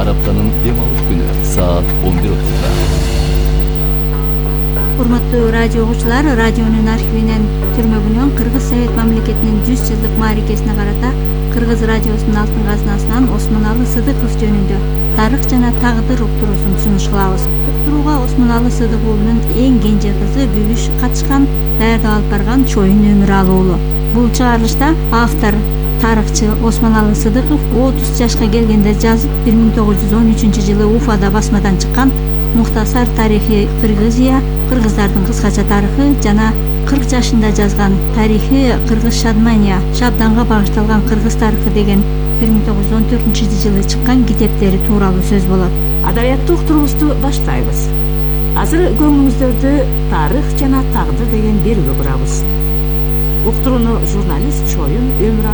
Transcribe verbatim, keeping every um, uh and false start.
ар аптанын эң алыс күнү саат он бир отузда. Урматтуу радио угуучулар, радионун архивинен түрмөгүнөн Кыргыз Совет мамлекетинин жүз жылдык мааракесине карата Кыргыз радиосунун алтын казынасынан Осмоналы Сыдыков жөнүндө тарых жана тагдыр уктуруусун сунуш кылабыз. Уктурууга Осмоналы Сыдык уулунун эң кенже кызы Бүгүш катышкан, даярдап алып барган Чоюн Өмүралы уулу. Бул чыгарылышта автор тарыхчы Осмоналы Сыдыков отуз жашка келгенде жазып бир миң тогуз жүз он үчүнчү жылы Уфада басмадан чыккан Мухтасар тарихи Кыргызия, кыргыздардын кыскача тарыхы жана кырк жашында жазган тарихи Кыргыз Шадмания, Шабданга багышталган кыргыз тарыхы деген бир миң тогуз жүз он төртүнчү жылы чыккан китептери тууралуу сөз болот. Адабияттуу уктуруубузду баштайбыз. Азыр көңүлүңүздөрдү тарых жана тагдыр деген берүүгө бурабыз. Уктурууну журналист Чоюн Өмүралы